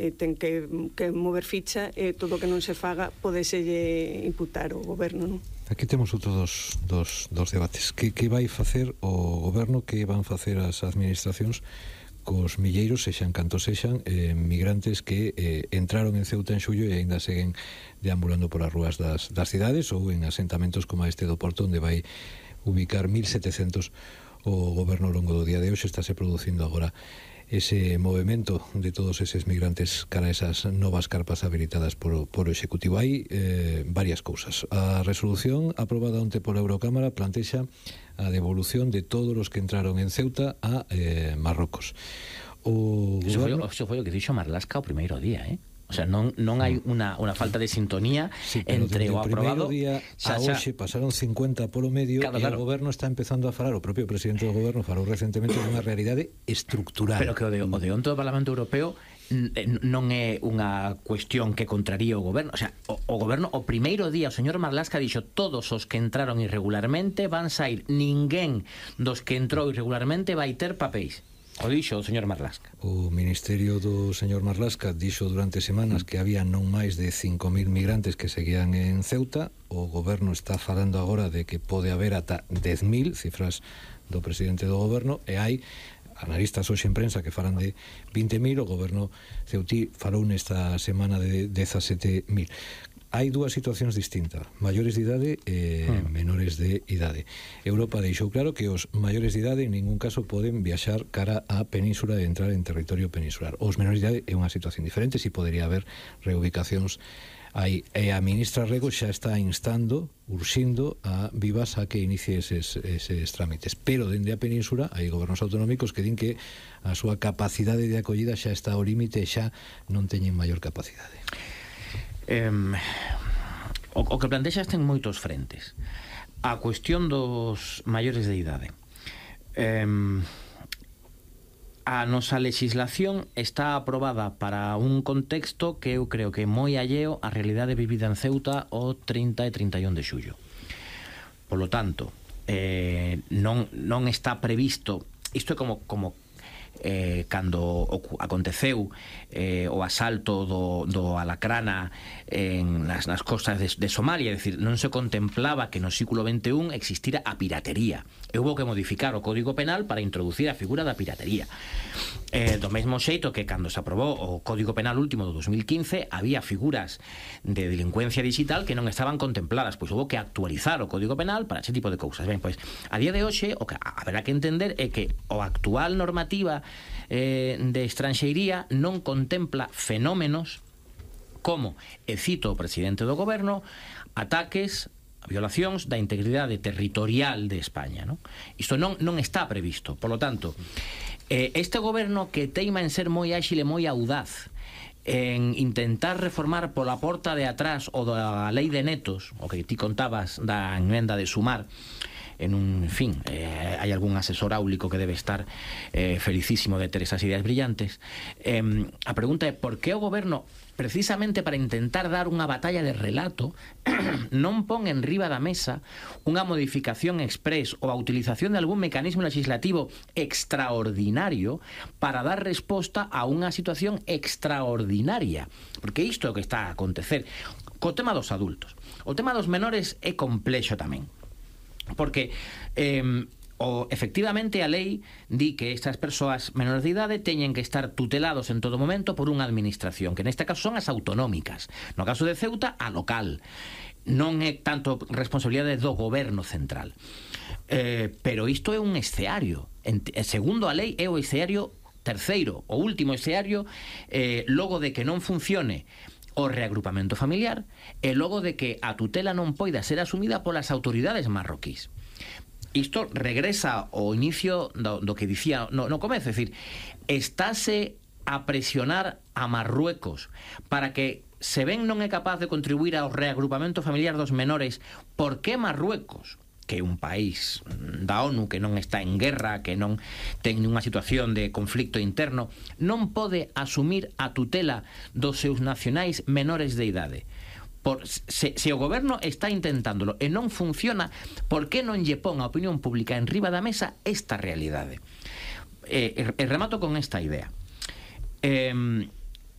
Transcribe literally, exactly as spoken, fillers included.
eh, ten que, que mover ficha e eh, todo o que non se faga podeselle imputar o goberno, non? Aquí temos outro dos, dos, dos debates. Que, que vai facer o goberno, que van facer as administracións cos milleiros, sexan cantos sexan, eh, migrantes que eh, entraron en Ceuta en xullo e aínda seguen deambulando polas rúas das, das cidades ou en asentamentos como este do Porto, onde vai ubicar mil setecentos o goberno ao longo do día de hoxe. Estáse producindo agora ese movimento de todos eses migrantes cara a esas novas carpas habilitadas por, por o Executivo. Hai eh, varias cousas. A resolución aprobada onte pola Eurocámara plantexa a devolución de todos os que entraron en Ceuta a eh, Marrocos. O Eso foi, goberno... eso foi o que dixo Marlaska o primeiro día, eh? O sea, non, non hai unha, unha falta de sintonía sí, entre o aprobado... O primeiro día a hoxe pasaron cincuenta polo medio, claro, e claro. O goberno está empezando a falar, o propio presidente do goberno falou recentemente dunha realidade estructural. Pero que o de, o de onte do Parlamento Europeo non é unha cuestión que contraría o goberno. O sea, o, o goberno, o primeiro día, o señor Marlaska dixo todos os que entraron irregularmente van sair, ninguén dos que entrou irregularmente vai ter papéis. O dixo o señor Marlaska. O ministerio do señor Marlaska dixo durante semanas que había non máis de cinco mil migrantes que seguían en Ceuta. O goberno está falando agora de que pode haber ata dez mil, cifras do presidente do goberno, e hai analistas hoxe en prensa que falan de vinte mil. O goberno ceutí falou nesta semana de dezasete mil. Hai dúas situacións distintas, maiores de idade e hmm. menores de idade. Europa deixou claro que os maiores de idade en ningún caso poden viaxar cara á península e entrar en territorio peninsular. Os menores de idade é unha situación diferente, si podería haber reubicacións aí. E a ministra Rego xa está instando, urxindo a Vivas a que inicie eses, eses trámites. Pero dende a península hai gobernos autonómicos que din que a súa capacidade de acollida xa está ao límite e xa non teñen maior capacidade. Um, o, o que plantexas ten moitos frentes. A cuestión dos maiores de idade, um, a nosa legislación está aprobada para un contexto que eu creo que é moi alleo á realidade vivida en Ceuta o trinta e trinta e un de xullo. Polo tanto, eh, non, non está previsto, isto é como, como eh, cando aconteceu eh, o asalto do, do Alacrana en nas, nas costas de, de Somalia, é dicir, non se contemplaba que no século vinte e un existira a piratería e houbo que modificar o Código Penal para introducir a figura da piratería. Eh, do mesmo xeito que cando se aprobou o Código Penal último do dos mil quince había figuras de delincuencia digital que non estaban contempladas, pois houbo que actualizar o Código Penal para ese tipo de cousas. Ben, pois a día de hoxe o que haberá que entender é que o actual normativa eh, de estranxeiría non contempla fenómenos como, e cito o presidente do goberno, ataques, violacións da integridade territorial de España, non? Isto non, non está previsto. Por lo tanto, eh, este goberno que teima en ser moi áxil e moi audaz en intentar reformar pola porta de atrás o da lei de netos, o que ti contabas da enmenda de Sumar, en un, en fin, eh, hai algún asesor áulico que debe estar eh, felicísimo de ter esas ideas brillantes. Eh, a pregunta é por que o goberno, precisamente para intentar dar unha batalla de relato, non pon en riba da mesa unha modificación express ou a utilización de algún mecanismo legislativo extraordinario para dar resposta a unha situación extraordinaria, porque isto é o que está a acontecer co tema dos adultos. O tema dos menores é complexo tamén, porque eh, o, efectivamente a lei di que estas persoas menores de idade teñen que estar tutelados en todo momento por unha administración, que neste caso son as autonómicas, no caso de Ceuta a local, non é tanto responsabilidade do goberno central. Eh, pero isto é un escenario, en, segundo a lei é o escenario terceiro, o último escenario, eh, logo de que non funcione o reagrupamento familiar e logo de que a tutela non poida ser asumida polas autoridades marroquís. Isto regresa ao inicio do, do que dicía no, no comezo, é dicir, estáse a presionar a Marruecos para que, se ben non é capaz de contribuir ao reagrupamento familiar dos menores, por que Marruecos, que é un país da ONU que non está en guerra, que non ten unha situación de conflicto interno, non pode asumir a tutela dos seus nacionais menores de idade? Por, se, se o goberno está intentándolo e non funciona, por que non lle pon a opinión pública en riba da mesa esta realidade? E, e remato con esta idea. Eh,